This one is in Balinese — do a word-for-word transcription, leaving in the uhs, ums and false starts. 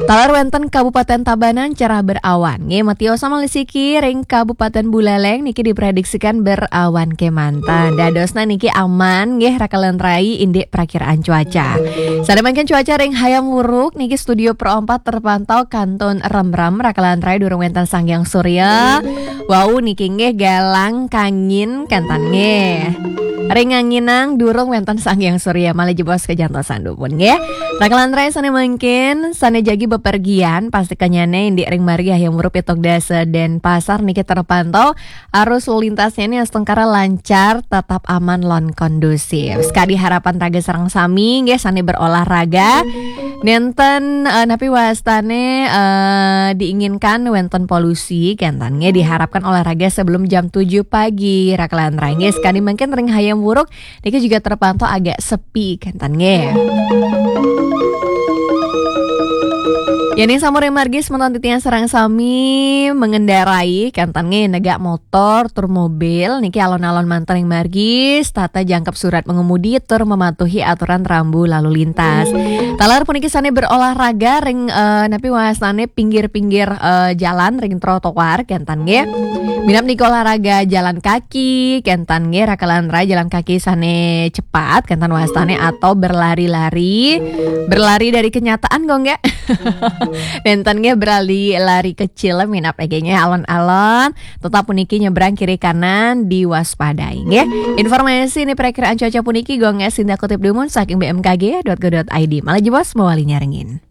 Taler wénten Kabupaten Tabanan cerah berawan. Nggih, metiosa malih siki ring Kabupaten Buleleng niki diprediksikan berawan kémanten. Dadosna niki aman nggih, raka lan rai indik prakiraan cuaca. Sané mangkin cuaca ring Hayam Wuruk niki Studio Pro empat terpantau kantun remrem, raka lan rai durung wénten Sanghyang Surya. Wau niki nggih galang kangin kénten nggih. Ring nganginang durung wénten Sanghyang Surya, malih jebos kajantosan dumun nggih. Raka lan rai sané mangkin, sané jagi bepergian, pastikannyané indik ring margi Hayam Wuruk pitung dasa Denpasar niki terpantau arus lalu lintasnya ini astungkara lancar, tetap aman lan kondusif. Sekadi harapan raga sareng sami nggih, sané berolahraga. Nénten eh, napi wastané eh, diinginkan wénten polusi, kénten nggih, diharapkan olahraga sebelum jam tujuh pagi, raka lan rai nggih. Sekadi mangkin ring Hayam Wuruk niki juga terpantau agak sepi, kénten nggih. Yéning sampun ring margi semeton titiang sareng sami mengendarai, kénten nggih, negak motor tur mobil niki alon-alon manten ring margi, setata jangkep surat mengemudi tur mematuhi aturan rambu lalu lintas. Taler puniki sané berolahraga ring eh, napi wastané pinggir-pinggir eh, jalan ring trotoar, kénten nggih. Minab niki olahraga jalan kaki, kénten nggih, raka lan rai, jalan kaki sané cepat, kénten wastané, atau berlari-lari. Berlari dari kenyataan kok nggih. Nénten nggih, berlari-lari kecil minab nggih, alon-alon. Tetap puniki nyebrang kiri kanan diwaspadai nggih. Informasi ini perakiraan cuaca puniki Gung Sinta kutip dumun saking B M K G dot go dot I D. Malih jebos mawali nyarengin.